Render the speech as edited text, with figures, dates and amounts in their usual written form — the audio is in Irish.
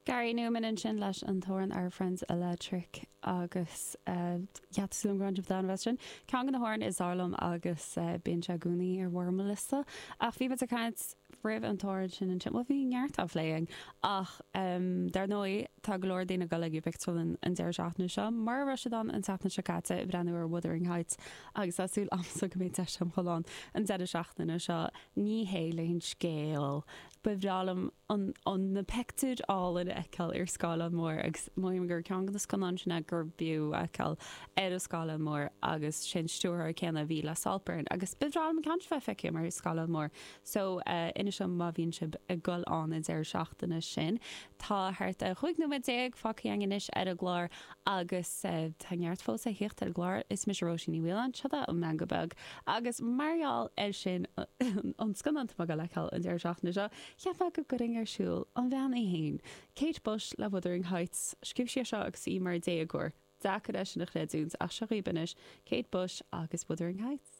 Gary Numan ansin leis an t-amhrán Our Friends Electric agus yeah tá súil agam go raibh sibh in ann sin. Ceann de na hamhráin is fearr liom agus bíonn sé i gcónaí ar bharr mo liosta. Ach bhí muid ag caint roimh an t-amhrán sin ansin, bhuel bhí neart á phlé againn ach dar ndóigh tá go leor daoine ag dul ag an bpictiúrlann an deireadh seachtaine seo mar a raibh siad ann an tseachtain seo caite ag breathnú ar Wuthering Heights agus tá súil agamsa go mbeidh deis agam dhul ann an deireadh seachtaine seo. Ní hé le an scéal. Ba bhreá liom an na pictiúir álainn a fheiceáil ar scáileán mór agus mothaím gur ceann de na scannáin sin é gur b'fhiú a fheiceáil ar an scáileán mór agus sé an stiúrthóir céanna a bhí le Saltburn agus ba bhreá liom an ceann seo bheith feicthe ar scáileán mór so inis dom má bhíonn sibh ag dul ann an deireadh seachtaine sin. Tá thart ar 15 nóiméad fágtha againn anois ar an gclár agus tá neart fós le thíocht ar an gclár. Is mise Róisín Ní Mhaoláin, seo é an Meangadh Beag agus mar gheall air sin an scannán atá mé ag dul a fheiceáil an deireadh seachtaine seo, cheap mé go gcuirfinn ar siúl an bhean í fhéin, Kate Bush le Wuthering Heights. Scríobh sí é seo agus í mar déagóir. Deacair é sin a chreidiúint ach seo dhaoibh anois Kate Bush agus Wuthering Heights.